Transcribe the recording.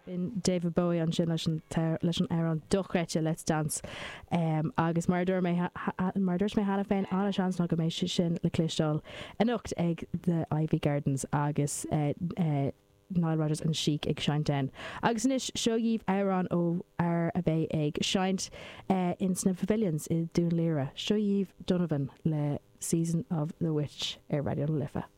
B'in David Bowie ansin leis an leis an amhrán dochreidte Let's Dance. Agus mar a dúirt mé mar a dúirt mé cheana féin, an-seans ná go mbeidh sé sin le cloisteáil anocht ag The Iveagh Gardens agus Nile Rodgers and Chic ag seinnt ann. Agus anois, seo dhaoibh amhrán ó fhear a bheidh ag seinnt ins na Pavilions i Dún Laoghaire. Seo dhaoibh Donovan le Season of the Witch ar Raidió na Life.